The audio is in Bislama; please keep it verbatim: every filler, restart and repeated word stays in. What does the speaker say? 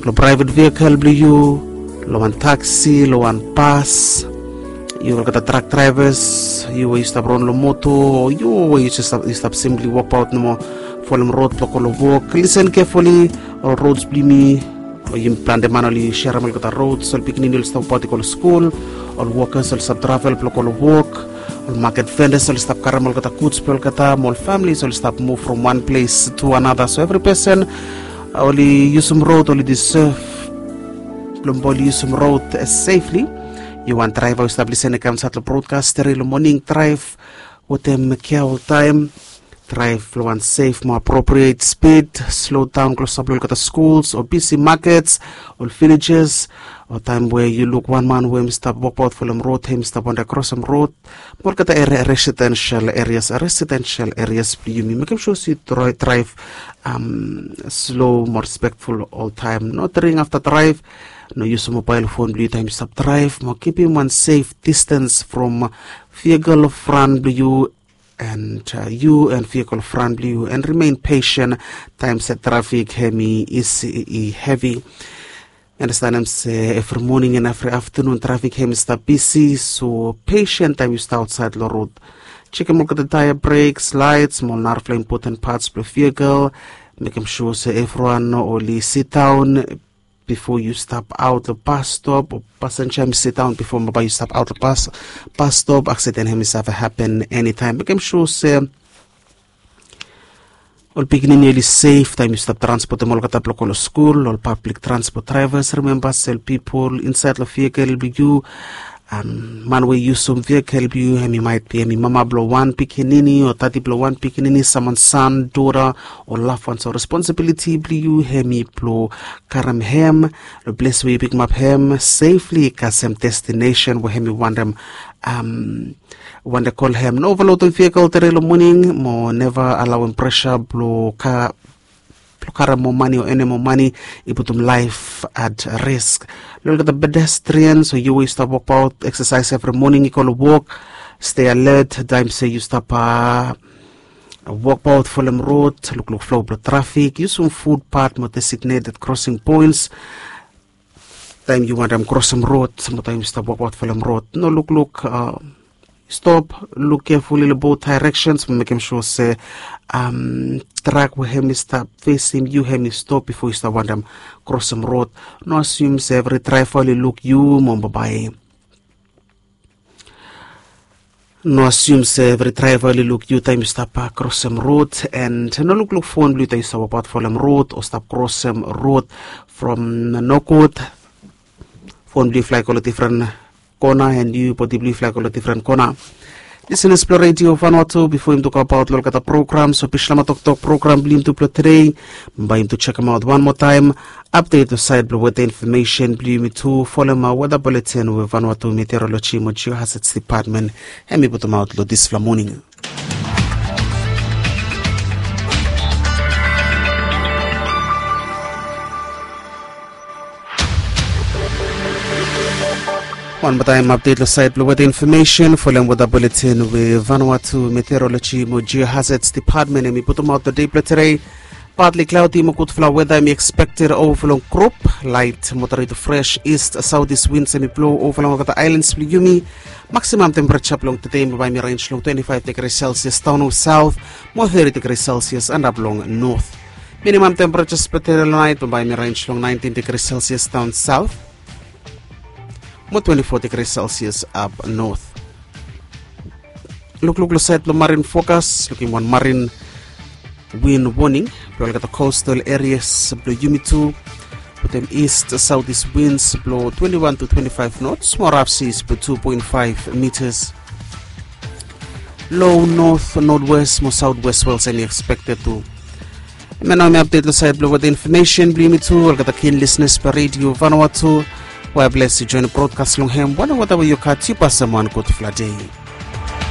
long private vehicle blong yu, long wan taksi, long wan bas, yu olgeta truck drivers, yu we yu stap ron long moto, o yu we yu stap simply wokbaot nomo folem rod blong go long wok. Listen carefully, ol roads blong yumi, o yumi plante man oli serem olgeta roads, ol pikinini oli stap wokbaot i go long skul, ol wokas oli stap travel blong go long wok, ol maket vendas oli stap karem olgeta guds blong olgeta, mo ol families oli stap muv from wan ples to another. So evri pesen oli yusum rod oli deserve blong oli yusum rod safely. Yu wan draiva we stap lisen i kam insait long brodkas tere long moning, draiv wetem kea oltaem. Draiv long wan sef mo apropriet spid, slo daon klosap long olgeta skuls o bisi makets, ol villages, o taem we yu luk wan man we hem i stap wokbaot folem rod, hem i stap wande krosem rod, mo olgeta residensel erias, residensel erias blong yumi, mekem sua se yu draiv slo mo respekful oltaem. No dring afta draiv. No yusum mobael fon blong yu taem yu stap draiv, mo kipim wan sef distans from vehicle fran blong yu, and yu and vehicle fran blong yu, and remain patient taem se trafik hem i isi, i hevi. Andastanem se evri moning and evri aftanun trafik hem i stap bisi, so patient taem yu stap aotsaed long rod. Jekem olgeta taea, breks, laets mo ol narafala impoten pats blong vehicle. Mekem sua se evriwan oli sidaon bifo yu stap aot long bas stop, o pasenja hem i sidaon bifo bae yu stap aot long bas stop. Aksiden hem i save hapen enitaem. Mekem sua se ol pikinini oli sef taem yu stap transpotem olgeta blong go long skul. Ol pablik transpot draivas, rimemba se ol pipol insaed long vehikel blong yu, man we i yusum vehikel blong yu, hem i maet bi hem i mama blong wan pikinini o dadi blong wan pikinini, samwan san, dota, o lafwan. So responsibiliti blong yu hem i blong karem hem long ples we yu pikimap hem sefli kasem destinesen we hem i wantem, wantem kol hem. No ovalotem vehikel tere long moning, mo neva alaoem presa blong ka blong karem moa mane o enem moa mane i putum laef at risk. Long olgeta pedestrian, so yu we yu stap wokbaot, eksasaes evri moning i go long wok, stei alet taem se yu stap wokbaot folem rod, lukluk flo blong trafik, yusum futpat mo designeted krosing poens taem yu wantem krosem rod mo taem yu stap wokbaot folem rod. No lukluk, stop, luk kefuli long both daereksens mo mekem sua se trak we hem i stap fesim yu hem i stop bifo yu stap wantem krosem rod. No asium se evri draeva oli luk yu mo babae. No asium se evri draeva oli luk yu taem yu stap krosem rod, and no lukluk fon blong yu taem yu stap wokbaot folem rod o stap krosem rod. From nogud fon blong yu flae go long difren kona, and yu bodi blong yu flae go long difren kona. Lisenas blong Redio Vanuatu, bifo yumi tu gobaot long olgeta programs o Bislama Toktok program blong yumi tu blong tede, bae yumi tu jekemaot wan moa taem apdet long saed blong weta infomesen blong yumi tu folem weta buletin we Vanuatu Meteoroloji mo Geohazards Depatmen hem i putumaot long disfala moning. Wan moa taem apdet long saed blong weta infomesen folem weta buletin we Vanuatu Meteoroloji mo Geohazards Depatmen hem i putumaot long dei blong tede. Partly cloudy mo gudfala weta hem i ekspekted ova long grup. Light moderate to fresh east southeast winds hem i blo ova long olgeta aelan blong yumi. Maximum temperature blong tede bae hem i range long twenty five degrees Celsius daon south mo thirty degrees Celsius antap long north. Minimum temperature blong tede long naet bae hem i range long nineteen degrees Celsius daon south mo twenty four degrees Celsius up north. Lukluk long saed blong marin fokas, lukim wan marin win woning blong olgeta coastal areas blong yumi tu, wetem east southeast winds blong twenty one to twenty five knots mo rough seas blong two point five meters. Low north, northwest mo southwest swells hem i expected tu. Hemia nao hemi apdet long saed blong weta infomesen blong yumi tu, olgeta kin lisenas blong Redio Vanuatu. We bless yu joen brodkas long hem. Wanem weta we yu gat, yu pasem wan gudfala dei.